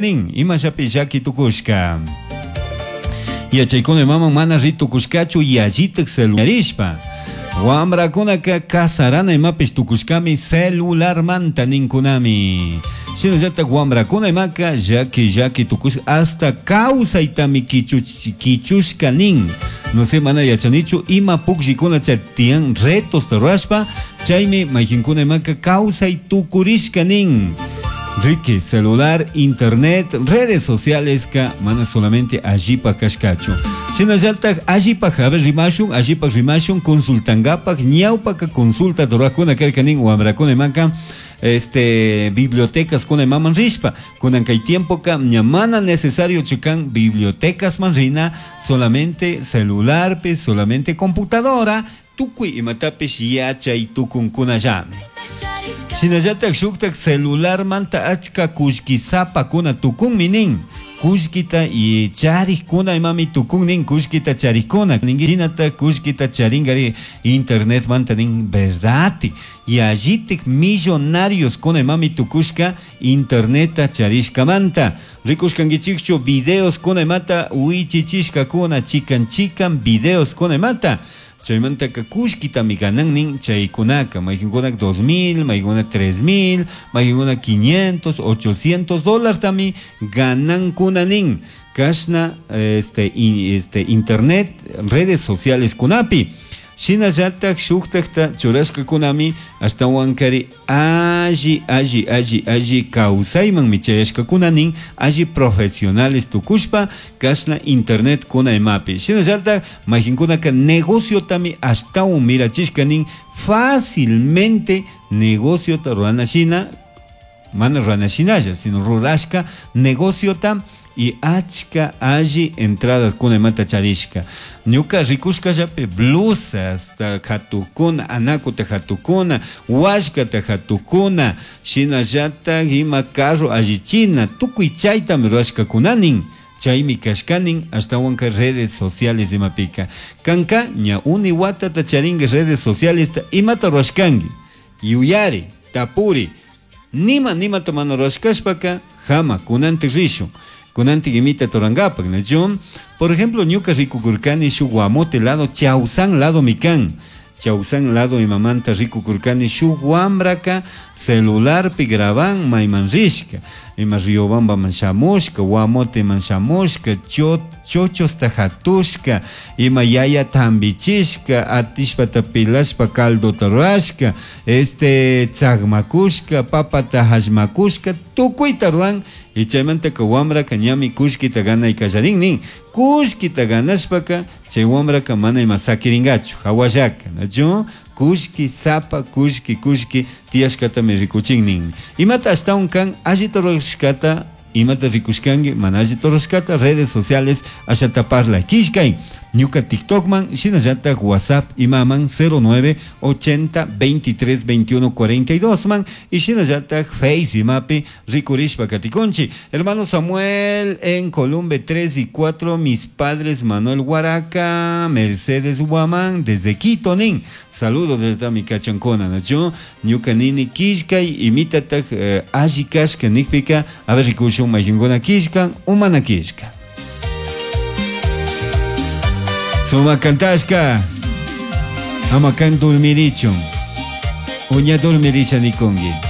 Nin, imashapi llaki tukushka. Yachaykuna imaman mana ri tukushkachu yallitak celularishpa. Wamrakunaka kasarana imapish tukushkami celularmanta ninkunami. Shinallatak wamrakuna imaka llaki llaki tukushka hasta kawsaytami kichushka nin. No sé, mana yachanichu ima pukllikuna chay tiyan retosta rurashpa Chaymi mayqinkuna imaka kawsay tukurishka nin. Riki, celular, internet, redes socialesqa mana solamente allipaj kashkachu. Shinallataj allipaj, a ver, rimashun, allipaj rimashun, consultangapaj, ñawpaka consulta rurajkuna karka nin wamrakuna imaka este bibliotecas kuna imaman rishpa. Kunan kay tiempoka ña mana necesariochu kan bibliotecasman rina, solamente celularpi, solamente computadora, Tucui imatapish yachai tucuncunallami. Shinallataj shujtaj celularmanta achca cullquisapacuna tucunmi nin. Cullquita y charijcuna imami tucun nin, cullquita charijcuna. Shinataj cullquita charingari internetmanta nin, verdadti. Yallitaj millonarioscuna imami tucushca internetta charishcamanta. Ricushcanguichijchu videoscuna imata huichichishcacuna chican chican videoscuna imata. Chaymantaca cullquitami ganan nin chaycunaca, mayqincunaca 2000, mayqincunaca 3000, mayqincunaca 500, 800 dólartami ganancuna nin. Cashna este, este, internet, redes sociales cunapi. Shinallataj shujtajta churashcacunami ashtahuancari Alli, alli, alli, alli causaimanmi chayashcacuna nin, alli profesionales tucushpa, cashna internet cuna imapi. Shinallataj majincunaca negociotami ashtahuan mirachishca nin, fácilmente negociota rurana shina, mana rurana shinalla, sino rurashca negociota Y achca alli entradacuna imata charishca. Ñuca ricushcallapi blusasta jatucuna, anacuta jatucuna, huascata jatucuna, shinallataj ima carro allichina, tucui chaitami rurashcacuna nin. Chaimi cashca nin, ashtahuanca redes sociales imapica. Canca ña uni huatata charingui redes socialesta imata rurashcangui? Yuyari, tapuri, Nima nimata mana rurashcashpaca, jama, cunantic rishun. Cunantic imita turangapac, nachu? Por ejemplo, ñuca ricucurcani shuc Guamote lado, Chausán ladomi can. Chausán lado imamanta ricucurcani shuc huambraca celularpi graban maiman rishca. Ima Riobambaman shamushca, Guamoteman shamushca, chochosta jatushca, ima yayata jambichishca, atishpata pelashpa caldota rurashca, Este tsagmacushca, papata hashmacushca, tucuita ruran y chaimantaca huambraca ñami cullquita ganai callarin nin. Cullquita ganashpaca chai huambraca mana ima saquiringachu, jahuallaca, nachu? Cullqui sapa, cullqui, cullqui tiyashcatami ricuchin nin. Imata ashtahuan can allita rurashcata Imata ricushcangui mana alli rurashcata redes sociales ashata parlai quillcai ñuca TikTokman shinallataj WhatsApp imaman 09 80 23 21 42 man y shinallataj Face imapi ricurishpa caticunchi. Hermano Samuel en Columbe 3 y 4 mis padres Manuel Huaraca, Mercedes Guamán desde Quito nin. Saludos desde mi cachancona, nachu? Ñuca nini quillcai imitataj alli cashca nijpica, a ver ricushun mayqinkuna quillcan o mana quillcan. Sumac cantashca, ama can dormirichun, o ña dormirisha nicungui.